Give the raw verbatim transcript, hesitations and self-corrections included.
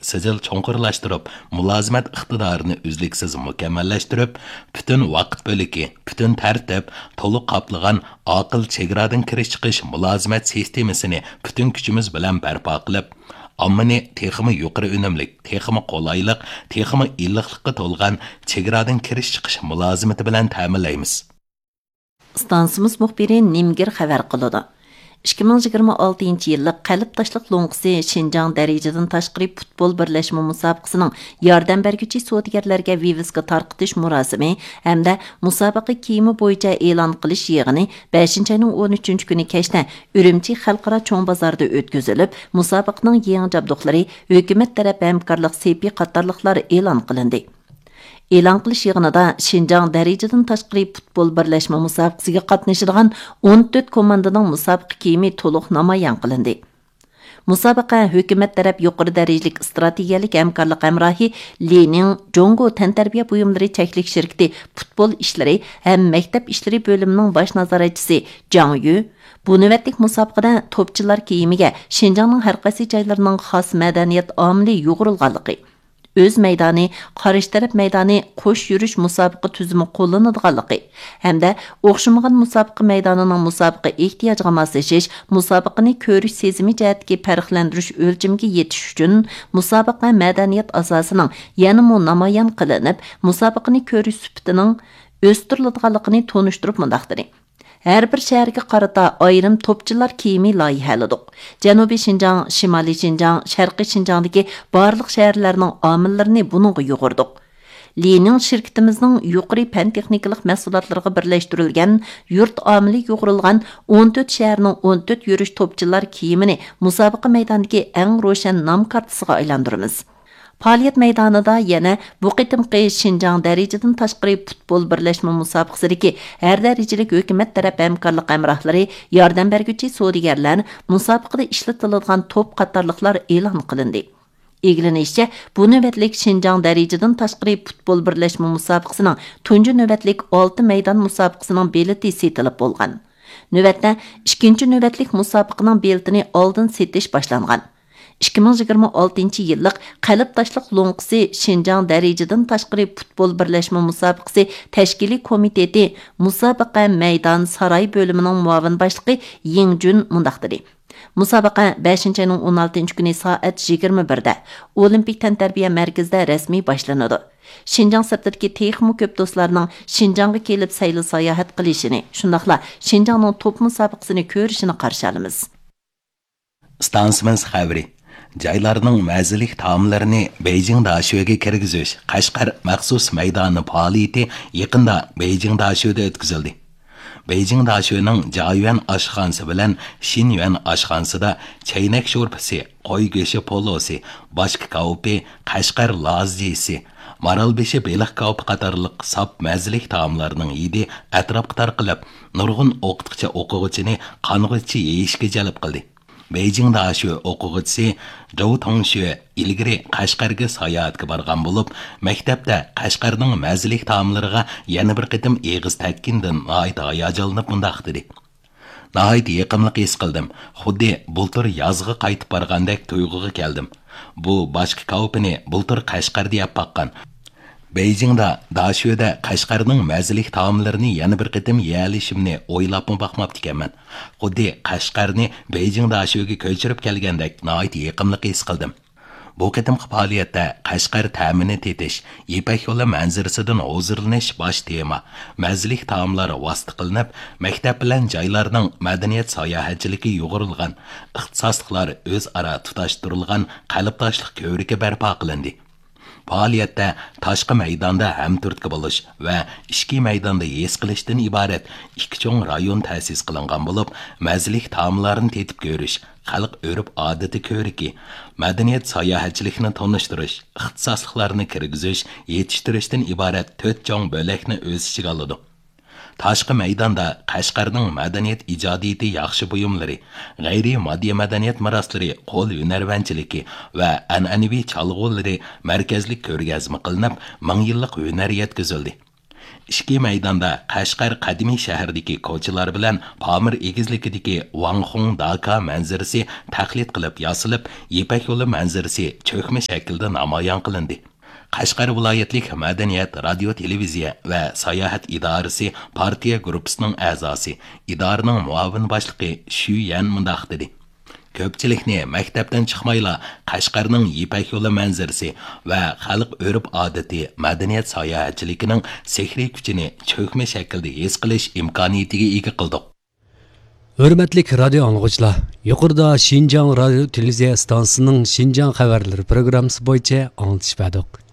سىجىل چوڭقۇرلاشتۇرۇپ، مۇلازىمەت ئىقتىدارىنى ئۈزلۈكسىز مۇكەممەللەشتۈرۈپ، پۈتۈن ۋاقىت بۆلىكى، پۈتۈن تەرتىپ، تولۇق قاپلىغان ئاقىل چېگرادىن كىرىش چىقىش مۇلازىمەت سىستېمىسىنى پۈتۈن كۈچىمىز بىلەن بەرپا قىلىپ، ئاممىنى تېخىمۇ يۇقىرى ئۈنۈملۈك، تېخىمۇ قولايلىق، تېخىمۇ ئىللىقلىققا تولغان چېگرادىن كىرىش چىقىش مۇلازىمىتى بىلەن تەمىنلەيمىز. ئىستانسىمىز مۇخبىرى نىمگىر خەۋەر قىلىدۇ. ئىككى مىڭ يىگىرمە ئالتىنچى يىللىق قەلب تاشلىق لوڭقىسى شىنجاڭ دەرىجىدىن تاشقىرى پۇتبول بىرلەشمە مۇسابىقىسىنىڭ ياردەم بەرگۈچى سودىگەرلەرگە ۋىۋىسكا تارقىتىش مۇراسىمى ھەمدە مۇسابىقە كىيىمى بويىچە ئېلان قىلىش يىغىنى بەشىنچى ئاينىڭ ئون ئۈچىنچى كۈنى كەچتە ئۈرۈمچى خەلقئارا چوڭ بازاردا ئۆتكۈزۈلۈپ، مۇسابىقىنىڭ يېڭى جابدۇقلىرى، ھۆكۈمەت تەرەپ ھەمكارلىق سېپى قاتارلىقلار ئېلان قىلىندى. ئېلان قىلىش يىغىنىدا شىنجاڭ دەرىجىدىن تاشقىرى پۇتبول بىرلەشمە مۇسابىقىسىگە قاتنىشىدىغان ئون تۆت كوماندىنىڭ مۇسابىقە كىيىمى تولۇق نامايان قىلىندى. مۇسابىقە ھۆكۈمەت تەرەپ يۇقىرى دەرىجىلىك ئىستراتېگىيەلىك ھەمكارلىق ھەمراھى لى نىڭ جۇڭگو تەنتەربىيە بۇيۇملىرى چەكلىك شىركىتى پۇتبول ئىشلىرى ھەم مەكتەپ ئىشلىرى بۆلۈمىنىڭ باش نازارەتچىسى جاڭ يۈ، بۇ نۆۋەتلىك مۇسابىقىدە توپچىلار كىيىمىگە شىنجاڭنىڭ ھەر قايسى جايلىرىنىڭ خاس مەدەنىيەت ئامىلى يۇغۇرۇلغانلىقى، ئۆز مەيدانى، قارشى تەرەپ مەيدانى، قوش يۈرۈش مۇسابىقە تۈزۈمى قوللىنىدىغانلىقى ھەمدە ئوخشىمىغان مۇسابىقە مەيدانىنىڭ مۇسابىقە ئېھتىياجىغا ماسلىشىش، مۇسابىقىنى كۆرۈش سېزىمى جەھەتتىكى پەرقلەندۈرۈش ئۆلچىمىگە يېتىش ئۈچۈن مۇسابىقە مەدەنىيەت ئاساسىنىڭ يەنىمۇ نامايان قىلىنىپ، مۇسابىقىنى كۆرۈش سۈپىتىنىڭ ئۆستۈرۈلىدىغانلىقىنى تونۇشتۇرۇپ مۇنداق دېدى. ھەر بىر شەھەرگە قارىتا ئايرىم توپچىلار كىيىمى لايىھەلىدۇق. جەنۇبىي شىنجاڭ، شىمالىي شىنجاڭ، شەرقىي شىنجاڭدىكى بارلىق شەھەرلەرنىڭ ئامىللىرىنى بۇنىڭغا يۇغۇردۇق. لىنىڭ شىركىتىمىزنىڭ يۇقىرى پەن تېخنىكىلىق مەھسۇلاتلىرىغا بىرلەشتۈرۈلگەن يۇرت ئامىلى يۇغۇرۇلغان ئون تۆت شەھەرنىڭ ئون تۆت يۈرۈش توپچىلار كىيىمىنى مۇسابىقە مەيدانىدىكى ئەڭ روشەن نام كارتىسىغا ئايلاندۇرىمىز. پائالىيەت مەيدانىدا يەنە بۇ قېتىمقى شىنجاڭ دەرىجىدىن تاشقىرى پۇتبول بىرلەشمە مۇسابىقىسىدىكى ھەر دەرىجىلىك ھۆكۈمەت تەرەپ ھەمكارلىق ھەمراھلىرى، ياردەم بەرگۈچى سودىگەرلەر، مۇسابىقىدە ئىشلىتىلىدىغان توپ قاتارلىقلار ئېلان قىلىندى. ئىگىلىنىشىچە، بۇ نۆۋەتلىك شىنجاڭ دەرىجىدىن تاشقىرى پۇتبول بىرلەشمە مۇسابىقىسىنىڭ تۇنجى نۆۋەتلىك ئالتە مەيدان مۇسابىقىسىنىڭ بېلىتى سېتىلىپ بولغان. نۆۋەتتە، ئىككىنچى نۆۋەتلىك مۇسابىقىنىڭ بېلىتىنى ئالدىن سېتىش باشلانغان. ئىككى مىڭ يىگىرمە ئالتىنچى يىللىق قەلب تاشلىق لوڭقىسى شىنجاڭ دەرىجىدىن تاشقىرى پۇتبول بىرلەشمە مۇسابىقىسى تەشكىلىي كومىتېتى مۇسابىقە مەيدان ساراي بۆلۈمىنىڭ مۇئاۋىن باشلىقى يىڭ جۈن مۇنداق دېدى: مۇسابىقە بەشىنچى ئاينىڭ ئون ئالتىنچى كۈنى سائەت يىگىرمە بىردە ئولىمپىك تەنتەربىيە مەركىزىدە رەسمىي باشلىنىدۇ. شىنجاڭ سىرتىدىكى تېخىمۇ كۆپ دوستلارنىڭ شىنجاڭغا كېلىپ سەيلە ساياھەت قىلىشىنى، شۇنداقلا شىنجاڭنىڭ توپ مۇسابىقىسىنى كۆرۈشىنى قارشى ئالىمىز. ئىستانسىمىز خەۋىرى. جايلارنىڭ مەززىلىك تائاملىرىنى بېيجىڭ داشۆگە كىرگۈزۈش قەشقەر مەخسۇس مەيدانى پائالىيىتى يېقىندا بېيجىڭ داشۆدە ئۆتكۈزۈلدى. بېيجىڭ داشۆنىڭ جايۈەن ئاشخانىسى بىلەن شىنيۈەن ئاشخانىسىدا چەينەك شورپىسى، قوي گۆشى پولۇسى، باچكا كاۋىپى، قەشقەر لازىسى، مارالبېشى بېلىق كاۋىپى قاتارلىق ساپ مەززىلىك تائاملارنىڭ ھىدى ئەتراپقا تارقىلىپ، نۇرغۇن ئوقۇتقۇچى ئوقۇغۇچىنى قانغۇچە يېيىشكە جەلپ قىلدى. بېيجىڭ داشۆ ئوقۇغۇچىسى جوۋ توڭشۆ ئىلگىرى قەشقەرگە ساياھەتكە بارغان بولۇپ، مەكتەپتە قەشقەرنىڭ مەززىلىك تائاملىرىغا يەنە بىر قېتىم ئېغىز تەگكىنىدىن ناھايىتى ھاياجانلىنىپ مۇنداق دېدى: ناھايىتى يېقىملىق ھېس قىلدىم. خۇددى بۇلتۇر يازغا قايتىپ بارغاندەك تۇيغۇغا كەلدىم. بۇ باچكا كاۋىپىنى بۇلتۇر قەشقەردە يەپ باققان. بېيجىڭدا، داشۆدە قەشقەرنىڭ مەززىلىك تائاملىرىنى يەنە بىر قېتىم يېيەلىشىمنى ئويلاپمۇ باقماپتىكەنمەن. خۇددى قەشقەرنى بېيجىڭ داشۆگە كۆچۈرۈپ كەلگەندەك ناھايىتى يېقىملىق ھېس قىلدىم. بۇ قېتىمقى پائالىيەتتە قەشقەر تەمىنى تېتىش، يىپەك يولى مەنزىرىسىدىن ھۇزۇرلىنىش باش تېما، مەززىلىك تائاملار ۋاسىتە قىلىنىپ، مەكتەپ بىلەن جايلارنىڭ مەدەنىيەت ساياھەتچىلىكى يۇغۇرۇلغان، ئىختىساسلىقلار ئۆزئارا تۇتاشتۇرۇلغان قەلبداشلىق كۆۋرۈكى بەرپا قىلىندى. پائالىيەتتە تاشقى مەيداندا ھەمتۈرتكە بولۇش ۋە ئىچكى مەيداندا ھېس قىلىشتىن ئىبارەت ئىككى چوڭ رايون تەسىس قىلىنغان بولۇپ، مەززىلىك تائاملارنى تېتىپ كۆرۈش، خەلق ئۆرپ-ئادىتى كۆرۈكى، مەدەنىيەت ساياھەتچىلىكىنى تونۇشتۇرۇش، ئىختىساسلىقلارنى كىرگۈزۈش، يېتىشتۈرۈشتىن ئىبارەت تۆت چوڭ بۆلەكنى ئۆز ئىچىگە ئالىدۇ. تاشقى مەيداندا قەشقەرنىڭ مەدەنىيەت ئىجادىيىتى ياخشى بۇيۇملىرى، غەيرىي ماددىي مەدەنىيەت مىراسلىرى، قول ھۈنەرۋەنچىلىكى ۋە ئەنئەنىۋى چالغۇلىرى مەركەزلىك كۆرگەزمە قىلىنىپ، مىڭ يىللىق ھۈنەر يەتكۈزۈلدى. ئىچكى مەيداندا قەشقەر قەدىمىي شەھىرىدىكى كوچىلار بىلەن پامىر ئېگىزلىكىدىكى ۋاڭخۇڭ داكا مەنزىرىسى تەقلىد قىلىپ ياسىلىپ، يىپەك يولى مەنزىرىسى چۆكمە شەكىلدە نامايان قىلىندى. قەشقەر ۋىلايەتلىك مەدەنىيەت، رادىيو، تېلېۋىزىيە ۋە ساياھەت ئىدارىسى پارتىيە گۇرۇپپىسىنىڭ ئەزاسى، ئىدارىنىڭ مۇئاۋىن باشلىقى شۈ يەن مۇنداق دېدى: كۆپچىلىكنى مەكتەپتىن چىقمايلا قەشقەرنىڭ يىپەك يولى مەنزىرىسى ۋە خەلق ئۆرپ-ئادىتى، مەدەنىيەت ساياھەتچىلىكىنىڭ سېھرىي كۈچىنى چۆكمە شەكىلدە ھېس قىلىش ئىمكانىيىتىگە ئىگە قىلدۇق. ھۆرمەتلىك رادىيو ئاڭلىغۇچىلار، يۇقىرىدا شىنجاڭ رادىيو تېلېۋىزىيە ئىستانسىسىنىڭ شىنجاڭ خەۋەرلىرى پروگراممىسى بويىچە ئاڭلىتىش بەردۇق.